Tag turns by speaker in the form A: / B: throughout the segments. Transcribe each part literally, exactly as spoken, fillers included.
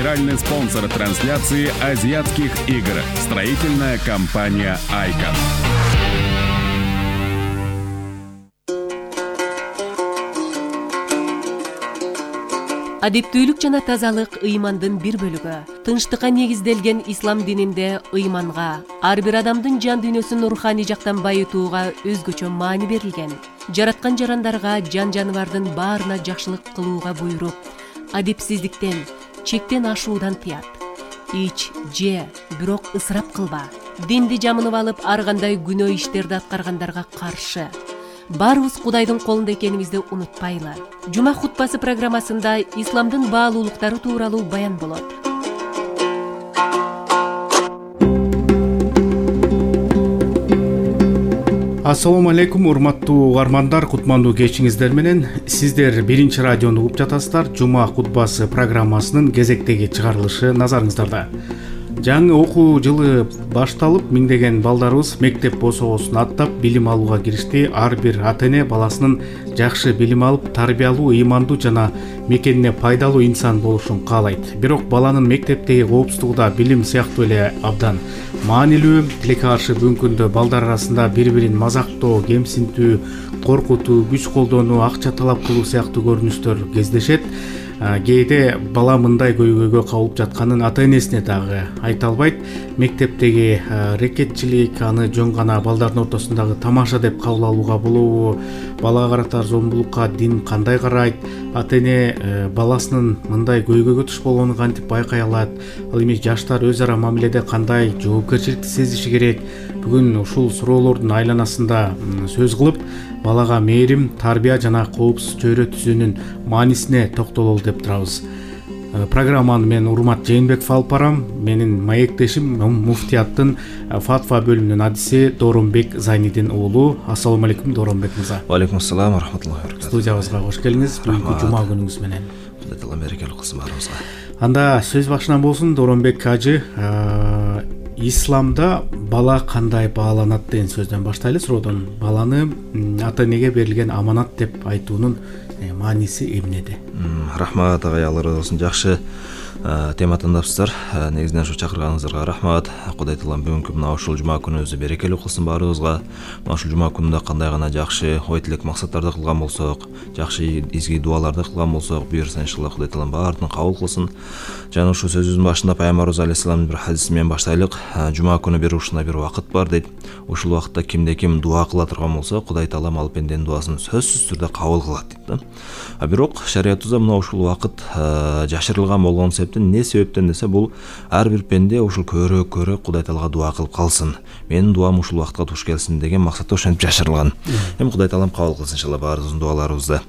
A: Генеральный спонсор трансляции азиатских игр. Строительная компания «Айкон».
B: Адептүүлүк жана тазалык ыймандын бир бөлүгү. Тынчтыкка негизделген ислам дининде ыйманга, ар бир адамдын жан дүйнөсүн руханий жактан байытууга өзгөчө маани берилген. Жараткан жарандарга, жан жаныбардын баарына жакшылык кылууга буйруп, адепсиздиктен, чектен ашуудан тыят. Ич, же, бирок ысырап кылба. Динди жамынып алып, ар кандай күнөө иштерди аткаргандарга каршы. Барыбыз Кудайдын колунда экенибизди унутпайлы. Жума хутбасы программасында исламдын баалуулуктары тууралуу баян болот.
C: Ассаламу алейкум, урматтуу угармандар, кутмандуу кечиңиздер менен. Сиздер биринчи радиону угуп жатасыздар. Жума хутбасы программасынын кезектеги чыгарылышы назарыңыздарда. Жаңы окуу жылы башталып, миңдеген балдарыбыз мектеп босоосун аттап билим алууга киришти. Ар бир ата-эне баласынын жакшы билим алып, тарбиялуу, ыймандуу жана мекенине пайдалуу инсан болушун каалайт. Бирок баланын мектептеги коопсуздугу да билим сыяктуу эле абдан маанилүү. Тилекке каршы бүгүнкү күндө балдар арасында бири-бирин мазактоо, кемсинтүү, коркутуу, күч колдонуу, акча талап кылуу сыяктуу көрүнүштөр кездешет. Кээде бала мындай көйгөйгө кабылып жатканын ата-энесине дагы айта албайт. Мектептеги рекетчилик, аны жөн гана балдардын ортосундагы тамаша деп кабыл алууга болобу? Балага карата зомбулукка дин кандай карайт? Ата-эне баласынын мындай көйгөйгө туш болгонун кантип байкай алат? Ал эми жаштар өз ара мамиледе кандай жоопкерчиликти сезиши керек? Бүгүн ушул суроолордун айланасында сөз кылып, балага мээрим, тарбия жана коопсуз чөйрө түзүүнүн маанисине токтололу деп турабыз. Программаны мен Урмат Жээнбеков алып барам. Менин маектешим муфтияттын фатва бөлүмүнүн адиси Дооронбек Зайнидин уулу. Ассаламу алейкум, Дооронбек мырза.
D: Ва алейкум ассалам ва рахматуллахи ва баракатух.
C: Студиябызга кош келиңиз. Бүгүнкү жума күнүңүз менен.
D: Кудай таала берекелүү кылсын баарыбызга.
C: Анда сөз башынан болсун, Дооронбек ажы. Исламда бала кандай бааланат деген сөздөн баштайлы. Суроодон баланы ата-энеге берилген аманат деп айтуунун мааниси эмнеде?
D: Рахмат агай, Алла разы болсун. Жакшы тема тандапсыздар. Негизинен ушу чакырганыңыздарга рахмат. Кудай таалам бүгүнкү мына ушул жума күнүбүздү берекелүү кылсын баарыбызга. Мына ушул жума күнүндө кандай гана жакшы ой тилек максаттарды кылган болсок, жакшы изги дуаларды кылган болсок, буюрса иншалла Кудай таалам баарын кабыл кылсын. Жана ушул сөзүбүздүн башында Пайгамбарыбыз алейхиссаламдын бир хадиси менен баштайлык. Жума күнү бир ушундай бир убакыт бар дейт. Ушул убакытта кимде ким дуа кыла турган болсо, Кудай таалам ал пенденин дуасын сөзсүз түрдө кабыл кылат дейт да. А бирок шариятыбызда мына ушул убакыт жашырылган болгон эмне себептен десе, бул ар бир пенде ушул көрө көрө Кудай таалага дуа кылып калсын, менин дуам ушул убакытка туш келсин деген максатта ошентип жашырылган. Эми Кудай таалам кабыл кылсын иншалла баарыбыздын дуаларыбызды.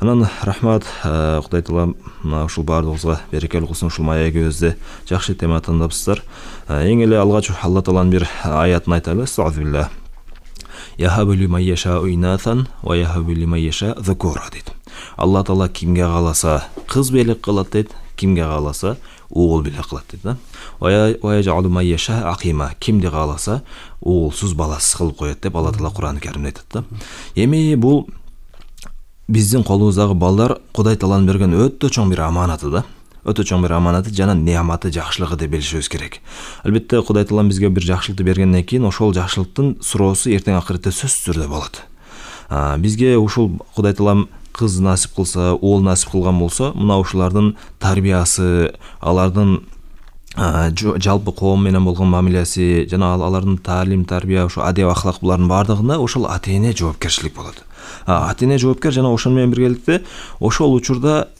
D: Анан рахмат, Кудай таалам мына ушул баардыгыбызга берекелүү кылсын. Ушул маегибизде жакшы тема тандапсыздар. Эң эле алгач Алла тааланын бир аятын айтайлы. Астагфируллах. Яхабу лиман яшау инатан ва яхабу лиман яша зукура дейт. Алла таала кимге кааласа кыз белек кылат дейт, кимге кааласа угул белек кылат дейт да. Ва яжалу ман яша акима, кимди кааласа угулсуз баласыз кылып коет деп Алла таала Кур'ан-ы Каримде айтат да. Эми бул биздин колубуздагы балдар Кудай тааланын берген өтө чоң бир аманаты да. Өтө чоң бир аманаты жана неаматы, жакшылыгы деп билишибиз керек. Албетте Кудай таалам бизге бир жакшылыкты бергенден кийин ошол жакшылыктын суроосу эртең акыртта сөзсүз түрдө болот. Бизге ушул Кудай таалам кыз насип кылса, уул насип кылган болсо, мына ушулардын тарбиясы, алардын жалпы коом менен болгон мамилеси жана алардын таалим, тарбия, ушу адеп ахлак булардын баардыгына ошол ата-эне жоопкерчилик болот. Ата-эне жоопкер жана ошол менен биргеликте ошол учурда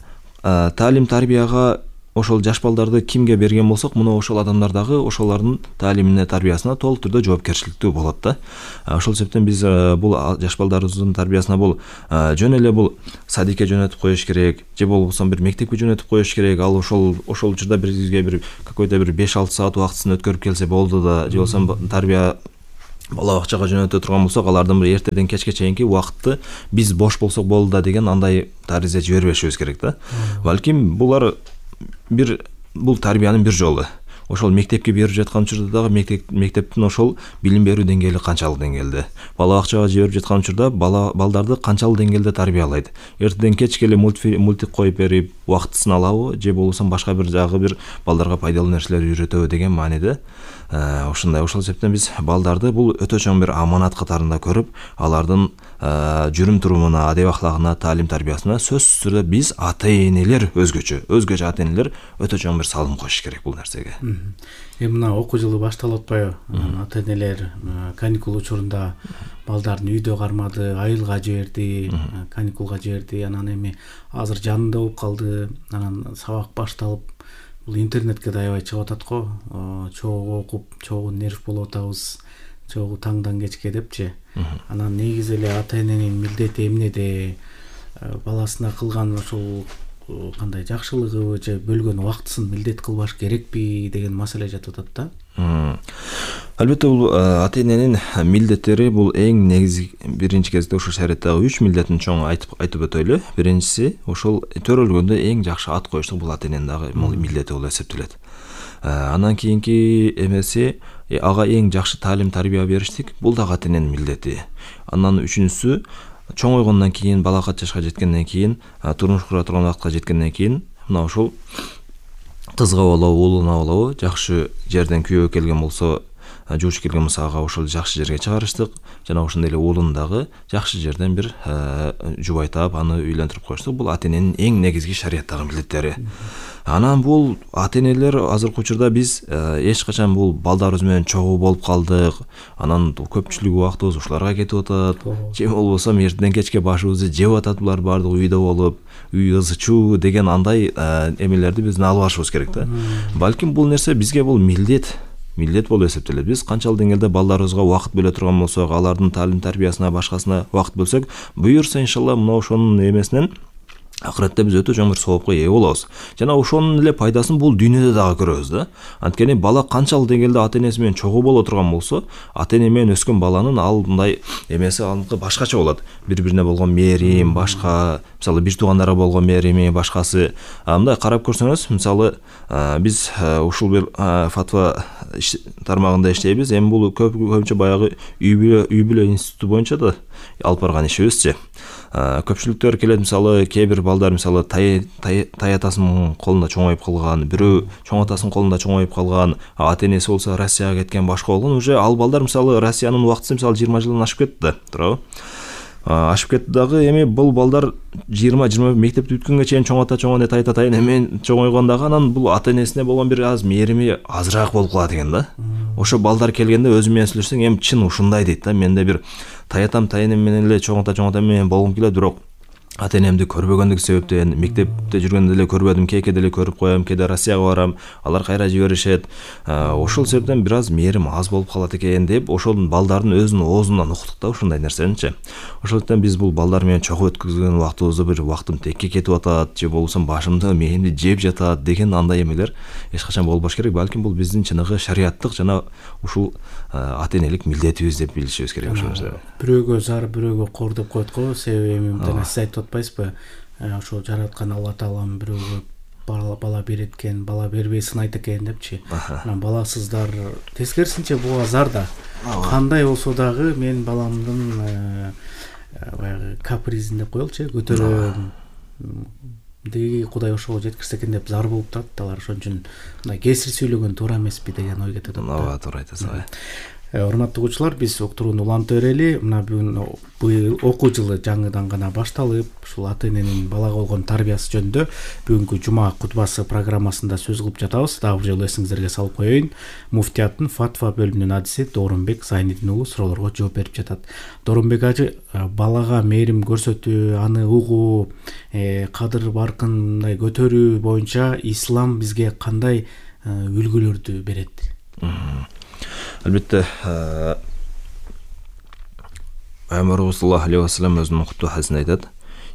D: таалим, тарбияга ошол жаш балдарды кимге берген болсок, мына ошол адамдар дагы ошолордун таалимине, тарбиясына толук түрдө жоопкерчиликтүү болот да. Ошол себептен биз бул жаш балдарыбыздын тарбиясына бул жөн эле бул садикке жөнөтүп коюш керек, же болбосо бир мектепке жөнөтүп коюш керек. Ал ошол ошол учурда бизге бир какой-то бир беш алты саат убактысын өткөрүп келсе болду да, же болбосо тарбия бала бакчага жөнөтө турган болсок, алардын бир эртеден кечке чейинки убакытты биз бош болсок болду да деген андай таризе жибербешибиз керек да. Балким булар бир бул тарбиянын бир жолу. ошол мектепке берип жаткан учурда дагы мектеп мектептин ошол билим берүү деңгээли канчалык деңгээлде, бала бакчага жиберип жаткан учурда бала балдарды канчалык деңгээлде тарбиялайт, эртеден кечке эле мультик коюп берип убактысын алабы же болбосо башка бир жагы бир балдарга пайдалуу нерселер үйрөтөбү деген мааниде ушундай. Ошол себептен биз балдарды бул өтө чоң бир аманат катарында көрүп, алардын жүрүм турумуна, адеп ахлагына, таалим тарбиясына сөзсүз түрдө биз ата энелер өзгөчө өзгөчө ата энелер өтө чоң бир салым коюш керек бул нерсеге.
C: Эми мына окуу жылы башталып атпайбы? Ата энелер каникул учурунда балдарын үйдө кармады, айылга жиберди, каникулга жиберди, анан эми азыр жанында болуп калды, анан сабак башталып, бул интернетке да аябай чыгып атат го, чогуу окуп, чогуу нерв болуп атабыз, чогуу таңдан кечке депчи. Анан негизи эле ата эненин милдети эмнеде, баласына кылган ошол кандай жакшылыгыбы же бөлгөн убактысын милдет кылбаш керекпи деген маселе жатып атат да.
D: Албетте бул ата эненин милдеттери бул эң негизги биринчи кезекте ошо шариаттагы үч милдетин чоң айтып айтып өтөйлү. Биринчиси ошол төрөлгөндө эң жакшы ат коюштук, бул ата эненин дагы милдети болуп эсептелет. Андан кийинки эмеси ага эң жакшы таалим тарбия бериштик, бул дагы ата эненин милдети. Андан үчүнчүсү чоңойгондон кийин, балакат жашка жеткенден кийин, турмуш кура турган убакытка жеткенден кийин мына ошол кызга болобу, уулуна болобу жакшы жерден күйөөгө келген болсо, жууч келген болсо ага ошол жакшы жерге чыгарыштык, жана ошондой эле уулуну дагы жакшы жерден бир жубайтап, аны үйлөндүрүп коюштук. Бул ата эненин эң негизги шариаттагы милдеттери. Анан бул ата энелер азыркы учурда биз эч качан бул балдарыбыз менен чогуу болуп калдык, анан көпчүлүк убактыбыз ушуларга кетип атат, же болбосо эртеден кечке башыбызды жеп атат булар баардыгы үйдө болуп, үй ызычуу деген андай эмелерди биздин алып алышыбыз керек да. Балким бул нерсе бизге бул милдет милдет болуп эсептелет. Биз канчалык деңгээлде балдарыбызга убакыт бөлө турган болсок, алардын таалим тарбиясына, башкасына убакыт бөлсөк, буюрса иншалла мына ошонун эмесинен акыретте биз өтө чоң бир соопко ээ болобуз. Жана ошонун эле пайдасын бул дүйнөдө дагы көрөбүз да. Анткени бала канчалык деңгээлде ата энеси менен чогуу боло турган болсо, ата эне менен өскөн баланын ал мындай эмеси алынкы башкача болот. Бири-бирине болгон мээрим, башка, мисалы бир туугандарга болгон мээрими, башкасы. Мындай карап көрсөңүз, мисалы биз ушул бир фатва тармагында иштейбиз. Эми бул көпчө баягы үй бүлө үй бүлө институту боюнча да алып барган ишибизчи. Көпчүлүктөр келет, мисалы кээ бир балдар мисалы тай атасынын колунда чоңоюп калган, бирөө чоң атасынын колунда чоңоюп калган, ата энеси болсо Россияга кеткен, башка болгон. Уже ал балдар мисалы Россиянын убактысы мисалы жыйырма жылдан ашып кетти да, туурабы? Ашып кетти дагы. Эми бул балдар жыйырма жыйырма мектепти бүткөнгө чейин чоң ата чоң эне тай ата менен чоңойгондагы, анан бул ата энесине болгон бир аз мээрими азыраак болуп калат экен да. Ошо балдар келгенде өзү менен сүйлөшсөң, эми чын ушундай дейт да. Менде бир тай атам тай энем менен эле чоң ата чоң ата менен болгум келет, бирок ата энемди көрбөгөндүк себептен мектепте жүргөндө деле көрбөдүм, кээде эле көрүп коем, кээде Россияга барам, алар кайра жиберишет. Ошол себептен бир аз мээрим аз болуп калат экен деп, ошол балдардын өзүнүн оозунан уктук да ушундай нерсеничи. Ошол себептен биз бул балдар менен чогуу өткөзгөн убактыбызды бир убактым текке кетип атат, же болбосо башымды мээримди жеп жатат деген андай эмелер эч качан болбош керек. Балким бул биздин чыныгы шариаттык жана ушул ата энелик милдетибиз деп билишибиз керек ошол нерсе.
C: Бирөөгө зар, бирөөгө кор деп коет го. Себеби эми мынтен сиз айтып атпайсызбы? Ошо жараткан Алла Таалам бирөөгө бала бала берет экен, бала бербей сынайт экен депчи. Анан баласыздар тескерисинче буга зар да. Кандай болсо дагы мен баламдын баягы капризин деп коелучу, көтөрөм. Деги Кудай ошого жеткирсе экен деп зар болуп турат алар. Ошон үчүн мындай кесир сөйлөгөн туура эмеспи деген ой кетет.
D: Ооба, туура айтасыз.
C: Урматтуу окуучулар, биз уктурууну улантып берели. Мына бүгүн быйыл окуу жылы жаңыдан гана башталып, ушул ата эненин балага болгон тарбиясы жөнүндө бүгүнкү жума кутбасы программасында сөз кылып жатабыз. Дагы бир жолу эсиңиздерге салып коеюн. Муфтияттын фатва бөлүмүнүн адиси Доорунбек Зайнидин уулу суроолорго жооп берип жатат. Доорунбек ажы, балага мээрим көрсөтүү, аны угуу, кадыр баркын мындай көтөрүү боюнча ислам бизге кандай үлгүлөрдү берет?
D: Албетте, Пайгамбарыбыз саллаллаху алейхи ва саллям өзүнүн куттуу хадисинде айтат: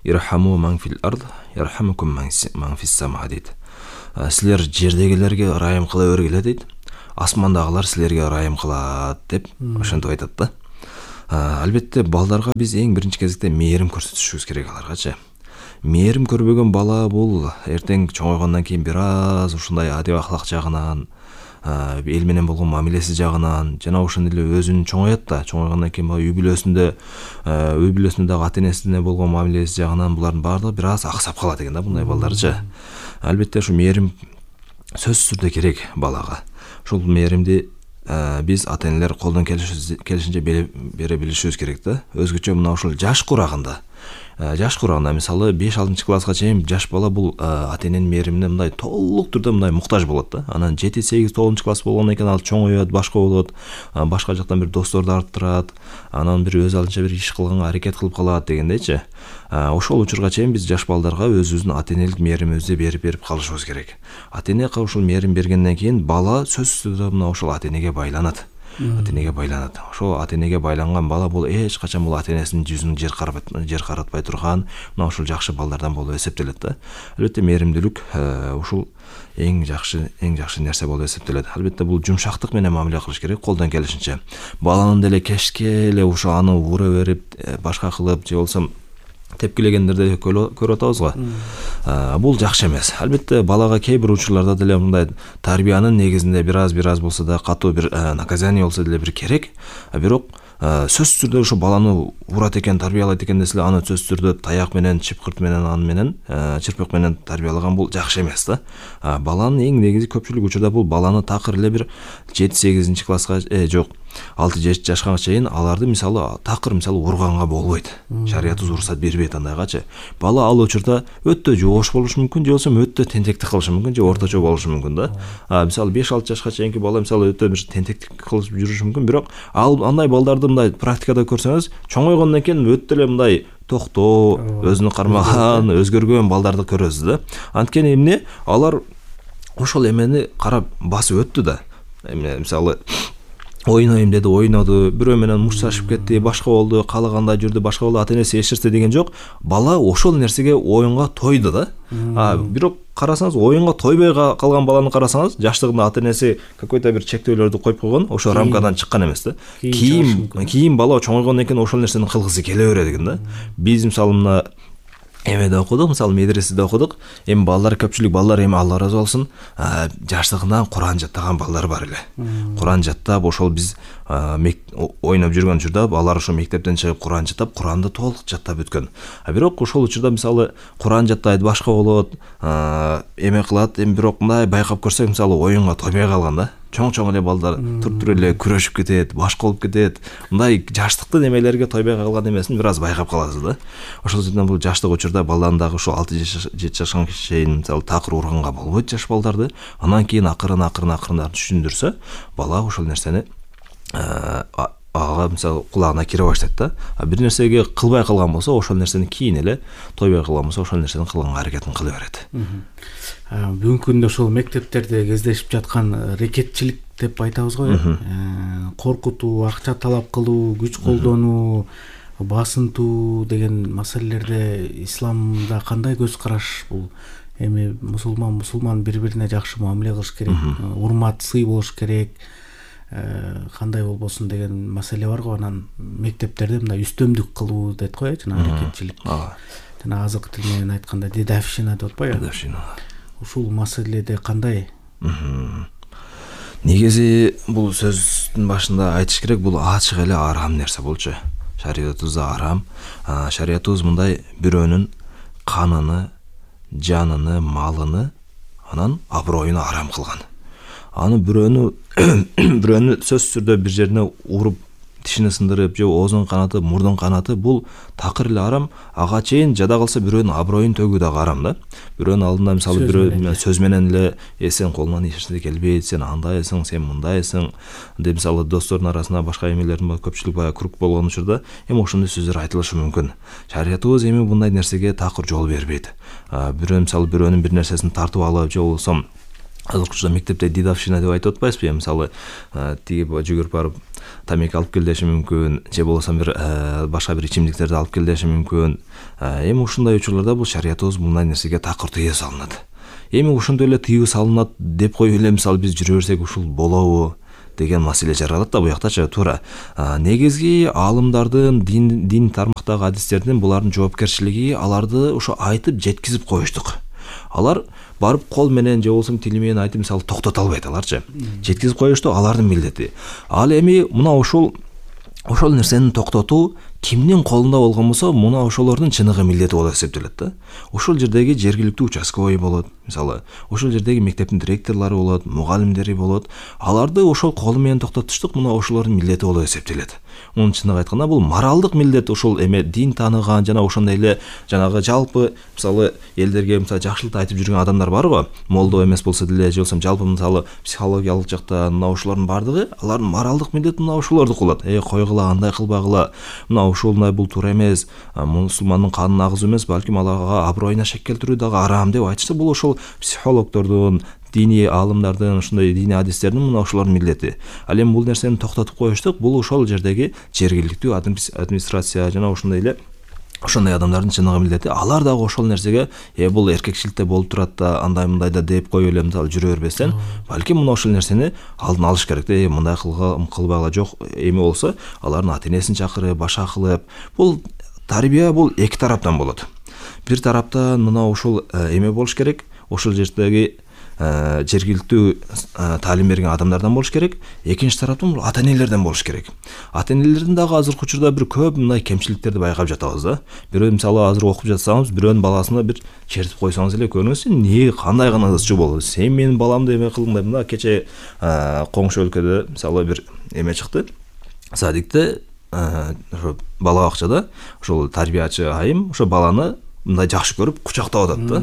D: "Ирхаму ман фил ард, ярхамукум ман фис сама" дейт. Силер жердегилерге ырайым кыла бергиле дейт, асмандагылар силерге ырайым кылат деп ошентип айтат да. Албетте, балдарга биз эң биринчи кезекте мээрим көрсөтүшүбүз керек аларгачы. Мээрим көрбөгөн бала бул эртең чоңойгондон кийин бир аз ушундай адеп ахлак жагынан эл менен болгон мамилеси жагынан жана ошондой эле өзүн чоңойот да. Чоңойгондон кийин үй бүлөсүндө үй бүлөсүндө дагы ата энесине болгон мамилеси жагынан булардын баардыгы бир аз аксап калат экен да, мындай балдарчы. Албетте ушу мээрим сөзсүз түрдө керек балага. Ушул мээримди биз ата энелер колдон келишинче бере билишибиз керек да. Өзгөчө мына ушул жаш курагында жаш курагында мисалы беш алтынчы класска чейин жаш бала бул ата эненин мээримине мындай толук түрдө мындай муктаж болот да. Анан жети сегиз тогузунчу класс болгондон кийин ал чоңойот, башка болот, башка жактан бир досторду арттырат, анан бир өз алдынча бир иш кылганга аракет кылып калат дегендейчи. Ошол учурга чейин биз жаш балдарга өзүбүздүн ата энелик мээримибизди берип берип калышыбыз керек. Ата эне ушул мээрим бергенден кийин бала сөзсүз түрдө мына ошол ата энеге байланат. Ата энеге байланат. Ошол ата энеге байланган бала бул эч качан бул ата энесинин жүзүн жер каратпай, жер каратпай турган, мына ушул жакшы балдардан болуп эсептелет да. Албетте мээримдүүлүк ушул эң жакшы эң жакшы нерсе болуп эсептелет. Албетте бул жумшактык менен мамиле кылыш керек колдон келишинче. Баланын деле кешке эле ушу аны ура берип, башка кылып же болсо тепкилегендерди көрүп атабыз го. Бул жакшы эмес. Албетте балага кээ бир учурларда деле мындай тарбиянын негизинде бир аз бир аз болсо да катуу бир наказание болсо деле бир керек. Бирок сөзсүз түрдө ошо баланы урат экен, тарбиялайт экен десе аны сөзсүз түрдө таяк менен, чыпкырт менен, аны менен, чырпык менен тарбиялаган бул жакшы эмес да. Баланын эң негизи көпчүлүк учурда бул баланы такыр эле бир жети сегизинчи класска э жок алты жети жашка чейин аларды мисалы такыр мисалы урганга болбойт. Шариятыбыз уруксат бербейт андайгачы. Бала ал учурда өтө жоош болушу мүмкүн, же болсо өтө тентектик кылышы мүмкүн, же орточо болушу мүмкүн да. А мисалы беш алты жашка чейинки бала мисалы өтө бир тентектик кылып жүрүшү мүмкүн, бирок ал андай балдарды мындай практикада көрсөңүз, чоңойгондон кийин өтө эле мындай токтоо, өзүнү кармаган, өзгөргөн балдарды көрөсүз да. Анткени эмне алар ошол эмени карап басып өттү да. Эмне мисалы ойнойм деди, ойноду, бирөө менен мушташып кетти, башка болду, каалагандай жүрдү, башка болду, ата энеси эшертти деген жок. Бала ошол нерсеге оюнга тойду да. А бирок карасаңыз, оюнга тойбой калган баланы карасаңыз, жаштыгында ата энеси какой-то бир чектөөлөрдү коюп койгон, ошо рамкадан чыккан эмес да. Кийин кийин бала чоңойгондон кийин ошол нерсени кылгысы келе берет экен да. Биз мисалы мына эмеде окудук, мисалы медреседе окудук. Эми балдар көпчүлүк балдар эми Алла ыраазы болсун, жаштыгынан Куран жаттаган балдар бар эле. Куран жаттап, ошол биз ойноп жүргөн учурда алар ошо мектептен чыгып Куран жаттап, Куранды толук жаттап өткөн. А бирок ошол учурда мисалы Куран жаттайт, башка болот, эме кылат, эми бирок мындай байкап көрсөк, мисалы оюнга тойбой калган да. Чоң-чоң эле балдар тур-тур эле күрөшүп кетет, башка болуп кетет. Мындай жаштыктын эмелерге тойбой калган эмесин бир аз байкап каласыз да. Ошол үчүн бул жаштык учурда баланын дагы ушул алты жети жашка чейин мисалы такыр урганга болбойт жаш балдарды. Андан кийин акырын акырын акырын түшүндүрсө, бала ошол нерсени ага мисалы кулагына кире баштайт да. А бир нерсеге кылбай калган болсо, ошол нерсени кийин эле тойбой кылган болсо, ошол нерсени кылганга аракетин кыла берет.
C: Бүгүнкү күндө ошол мектептерде кездешип жаткан рекетчилик деп айтабыз го, коркутуу, акча талап кылуу, күч колдонуу, басынтуу деген маселелерде исламда кандай көз караш? Бул эми мусулман мусулман бири-бирине жакшы мамиле кылыш керек, урмат, сый болуш керек, кандай болбосун деген маселе бар го. Анан мектептерде мындай үстөмдүк кылуу дейт го, жана рекетчилик. Жана азыркы тил менен айтканда дедовщина деп атпайбы? Дедовщина. Ушул маселеде кандай?
D: Негизи бул сөздүн башында айтыш керек, бул ачык эле арам нерсе болчу. Шариятыбызда арам. Шариятыбыз мындай бирөөнүн каныны, жаныны, малыны, анан аброюну арам кылган. Аны бирөөнү бирөөнү сөзсүз түрдө бир жерине уруп, тишини сындырып, же оозун канаты, мурдун канаты, бул такыр эле арам. Ага чейин жада калса бирөөнүн аброюн төгүү дагы арам да. Бирөөнүн алдында мисалы бирөө сөз менен эле «Э сен колуңан эч нерсе келбейт, сен андайсың, сен мындайсың» деп мисалы достордун арасында башка эмелердин көпчүлүк баягы круг болгон учурда эми ошондой сөздөр айтылышы мүмкүн. Шариятыбыз эми мындай нерсеге такыр жол бербейт. Бирөө мисалы бирөөнүн бир нерсесин тартып алып, же болсо азыркы учурда мектепте дедовщина деп айтып атпайсызбы? Мисалы тиги жүгүрүп барып тамеки алып кел деши мүмкүн, же болсо бир башка бир ичимдиктерди алып кел деши мүмкүн. Эми ушундай учурларда бул шариятыбыз мындай нерсеге такыр тыюу салынат. Эми ошондой эле тыюу салынат деп коюп эле мисалы биз жүрө берсек ушул болобу деген маселе жаралат да бу жактачы. Туура. Негизги аалымдардын, дин дин тармактагы адистердин булардын жоопкерчилиги аларды ошо айтып жеткизип коюштук. Алар барып кол менен же болбосо тили менен айтып мисалы токтото албайт аларчы. Жеткизип коюшту алардын милдети. Ал эми мына ушул ошол нерсени токтотуу кимдин колунда болгон болсо, мына ошолордун чыныгы милдети болуп эсептелет да. Ошол жердеги жергиликтүү участковый болот, мисалы, ошол жердеги мектептин директорлору болот, мугалимдери болот. Аларды ошол колу менен токтотуштук мына ошолордун милдети болуп эсептелет. Мунун чыныгы айтканда бул моралдык милдет, ошол эме дин тааныган жана ошондой эле жанагы жалпы мисалы элдерге мисалы жакшылык айтып жүргөн адамдар бар го, молдо эмес болсо деле, же болбосо жалпы мисалы психологиялык жактан мына ошолордун бардыгы, алардын моралдык милдети мына ошолордуку болот. Э, койгула, андай кылбагыла, мына ошолундай бул туура эмес, мусулмандын канына агызуу эмес, балким аларга аброюна шек келтирүү дагы арам деп айтышса, бул ошол психологдордун, диний аалымдардын, ошондой диний адистердин мына ошолордун милдети. Ал эми бул нерсени токтотуп коюштук, бул ошол жердеги жергиликтүү администрация жана ошондой эле ошондой адамдардын чыныгы милдети. Алар дагы ошол нерсеге э бул эркекчиликте болуп турат да, андай мындай да деп коюп эле мисалы жүрө бербестен, балким мына ошол нерсени алдын алыш керек да. Э мындай кылбагыла, жок эми болсо алардын ата-энесин чакырып, башка кылып, бул тарбия бул эки тараптан болот. Бир тараптан мына ошол эме болуш керек, ошол жердеги жергиликтүү таалим берген адамдардан болуш керек. Экинчи тараптан бул ата-энелерден болуш керек. Ата-энелердин дагы азыркы учурда бир көп мындай кемчиликтерди байкап жатабыз да. Бирөө мисалы азыр окуп жатсаңыз, бирөөнүн баласына бир чертип койсоңуз эле, көрүңүз, сен эмне кандай гана ызчуу болду, сен менин баламды эме кылдың деп. Мына кече коңшу өлкөдө мисалы бир эме чыкты. Садикте ошо бала бакчада ошол тарбиячы айым ошо баланы мындай жакшы көрүп кучактап атат да.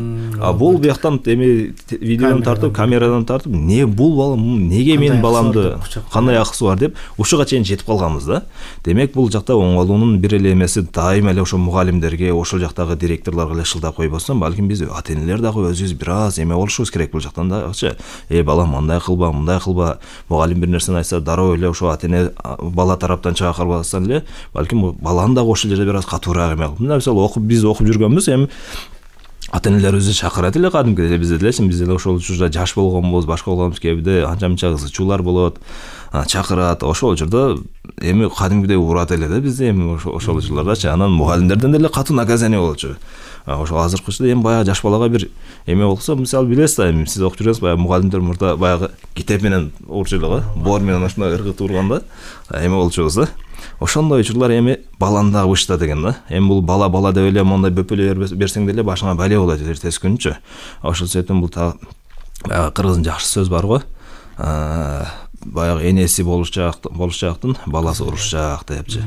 D: А бул бияктан эми видеодон тартып, камерадан тартып, не бул бала неге менин баламды кандай акысы бар деп ушуга чейин жетип калганбыз да. Демек бул жакта оңолуунун бир эле эмеси дайыма эле ошо мугалимдерге, ошол жактагы директорлорго эле шылдап койбостон, балким биз ата-энелер дагы өзүбүз бир аз эме болушубуз керек бул жактан дагычы. Э балам мындай кылба, мындай кылба. Мугалим бир нерсени айтса, дароо эле ошо ата-эне бала тараптан чыга калбастан эле, балким баланы дагы ошол жерде бир аз катуураак эме кылып. Мына мисалы окуп биз окуп жүргөнбүз, эми ата-энелерибизди чакырат эле кадимкидей, бизде делечи, биз эле ошол учурда жаш болгонбуз, башка болгонбуз, кээде анча-мынча ызчуулар болот, чакырат, ошол учурда эми кадимкидей урат эле да бизде эми ошол учурлардачы. Анан мугалимдерден деле катуу наказание болчу. Ошол азыркы учурда эми баягы жаш балага бир эме болсо, мисалы билесиз да, эми сиз окуп жүрөсүз, баягы мугалимдер мурда баягы китеп менен урчу эле го, боор менен ошондой ыргытып урганда эме болчубуз да. Ошондой учурлар эми баланы дагы бышта деген да. Эми бул бала бала деп эле мондай бөпөлө берсең деле башыңа бале болот эртеси күнчү. Ошол себептен бул баягы кыргыздын жакшы сөз бар го. Баягы энеси болушчак, болушчактын баласы урушчак депчи.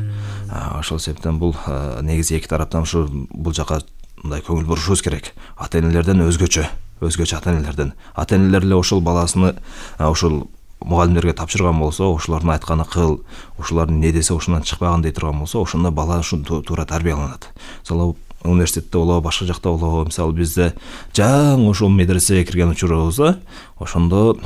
D: Ошол себептен бул негизи эки тараптан ушу бул жака мындай көңүл бурушубуз керек. Ата-энелерден өзгөчө, өзгөчө ата-энелерден. Ата-энелер эле ошол баласыны ошол мугалимдерге тапшырган болсо, ошолордун айтканы кыл, ошолордун не десе ошондон чыкпаган дей турган болсо, ошондо бала ушу туура тарбияланат. Мисалы университетте болобу, башка жакта болобу, мисалы бизде жаңы ошол медресеге кирген учурубузда, ошондо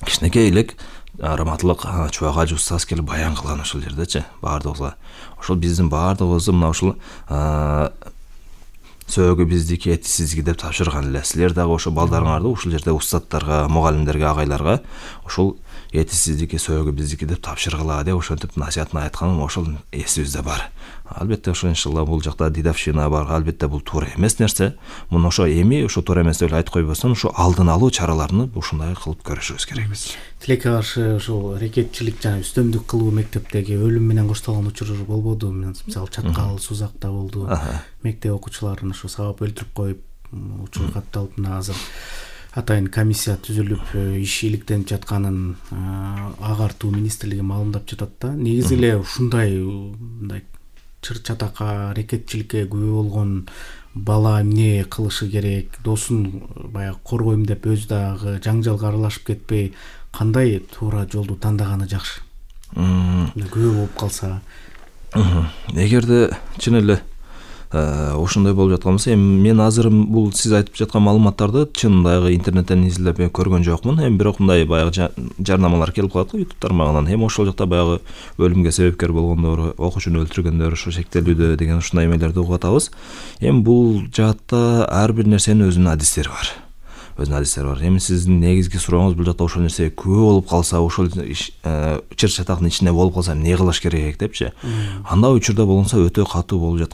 D: кичинекей элек раматылык чубагажы устаз келип баян кылган ошол жердечи, баардыгыбызга. Ошол биздин баардыгыбызды мына ошол сөөгү биздики, эти сиздики деп тапшырган эле. Силер дагы ошо балдарыңарды ушул жерде устаттарга, мугалимдерге, агайларга ошол эти сиздики, сөөгү биздики деп тапшыргыла деп ошентип насаатын айтканым ошол эсибизде бар. Албетте ошо иншалла бул жакта дидавшина бар, албетте бул туура эмес нерсе. Муну ошо эми ошо туура эмес деп айтып койбостон, ошо алдын алуу чараларын ушундай кылып көрүшүбүз керек биз.
C: Тилекке каршы ошол рекетчилик жана үстөмдүк кылуу мектептеги өлүм менен коштолгон учурлар болбоду? Мисалы Чаткал, Сузакта болду. Мектеп окуучуларын ошо сабап өлтүрүп коюп, учур катталып, мына азыр атайын комиссия түзүлүп иш иликтенип жатканын агартуу министрлиги маалымдап жатат да. Негизи эле ушундай мындай чыр чатакка, рекетчиликке күбө болгон бала эмне кылышы керек? Досун баягы коргойм деп өзү дагы жаңжалга аралашып кетпей, кандай туура жолду тандаганы жакшы? Күбө болуп калса.
D: Эгерде чын эле ошондой болуп жаткан болсо, эми мен азыр бул сиз айтып жаткан маалыматтарды чын дагы интернеттен изилдеп көргөн жокмун. Эми бирок мындай баягы жарнамалар келип калат го YouTube тармагынан. Эми ошол жакта баягы өлүмгө себепкер болгондор, окуучуну өлтүргөндөр ошо шектелүүдө деген ушундай эмелерди угуп атабыз. Эми бул жаатта ар бир нерсенин өзүнүн адистери бар. Өзүнүн адистери бар. Эми сиздин негизги сурооңуз бул жакта ошол нерсеге күбө болуп калса, ошол чыр чатактын ичинде болуп калса эмне кылыш керек депчи. Андай учурда болгонсо өтө катуу болуп жаткан